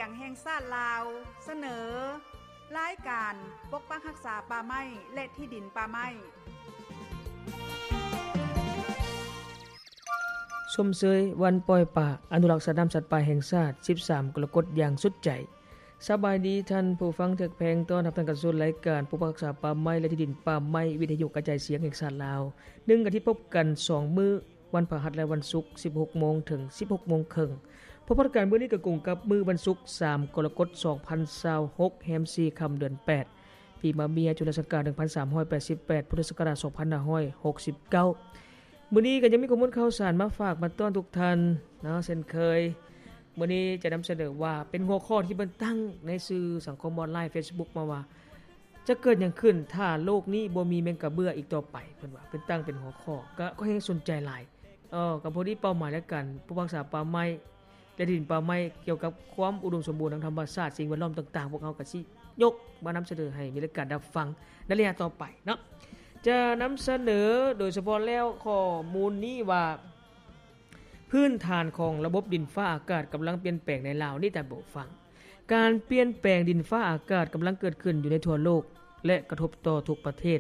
ງແຫ່ງຊາດລາວ ສະເໜີ ລາຍການປົກປັກຮັກສາປ່າໄມ້ ແລະ ທີ່ດິນປ່າໄມ້. ຊົມເຊີຍວັນປ່ອຍປາ ອະນຸລັກສັດນ້ຳສັດປ່າແຫ່ງຊາດ ສິບສາມ ກໍລະກົດ ຢ່າງສຸດໃຈ. ສະບາຍດີທ່ານຜູ້ຟັງທີ່ຮັກແພງ, ຕ້ອນຮັບທ່ານເຂົ້າສູ່ລາຍການປົກປັກຮັກສາປ່າໄມ້ ແລະ ທີ່ດິນປ່າໄມ້ ວິທະຍຸກະຈາຍສຽງແຫ່ງຊາດລາວ. ໜຶ່ງອາທິດພົບກັນສອງມື້, ວັນພະຫັດ ແລະ ວັນສຸກ ສິບຫົກໂມງ ເຖິງ ສິບຫົກໂມງເຄິ່ງ. ພົບກັນມື້ນີ້ກໍກົງກັບມື້ວັນສຸກ ສາມ ກໍລະກົດ ສອງພັນຊາວຫົກ ແຮມສີ່ຄ່ຳ ເດືອນແປດ ປີມະເມຍ ຈຸລະສັກກາດ ໜຶ່ງພັນສາມຮ້ອຍແປດສິບແປດ ພຸດທະສັກກະລາດ ສອງພັນຫ້າຮ້ອຍຫົກສິບເກົ້າ. ມື້ນີ້ກໍຍັງມີຂໍ້ມູນຂ່າວສານມາຝາກມາຕ້ອນທຸກທ່ານເນາະ ເຊັ່ນເຄີຍ. ມື້ນີ້ຈະນຳສະເໜີວ່າເປັນຫົວຂໍ້ທີ່ເພິ່ນຕັ້ງໃນສື່ສັງຄົມອອນລາຍ Facebook ມາວ່າ ຈະເກີດຫຍັງຂຶ້ນຖ້າໂລກນີ້ບໍ່ມີແມງກະເບື້ອອີກຕໍ່ໄປ? ເພິ່ນວ່າ ເພິ່ນຕັ້ງເປັນຫົວຂໍ້ ກໍ ກໍແຮງສົນໃຈຫຼາຍ. ເອີ ກໍພໍດີເປົ້າໝາຍລາຍການປົກປັກຮັກສາປ່າໄມ້ ແລະ ທີ່ດິນປ່າໄມ້ ກ່ຽວກັບຄວາມອຸດົມສົມບູນທາງທຳມະຊາດ ສິ່ງແວດລ້ອມຕ່າງໆ ພວກເຮົາກໍຊິຍົກມານຳສະເໜີໃຫ້ມີລາຍການຮັບຟັງໃນໄລຍະຕໍ່ໄປເນາະ. ຈະນຳສະເໜີໂດຍສະເພາະແລ້ວຂໍ້ມູນນີ້ວ່າ ພື້ນຖານຂອງລະບົບດິນຟ້າອາກາດກຳລັງປ່ຽນແປງໃນລາວ. ນີ້ທ່ານຜູ້ຟັງ, ການປ່ຽນແປງດິນຟ້າອາກາດກຳລັງເກີດຂຶ້ນຢູ່ໃນທົ່ວໂລກ ແລະ ກະທົບຕໍ່ທຸກປະເທດ.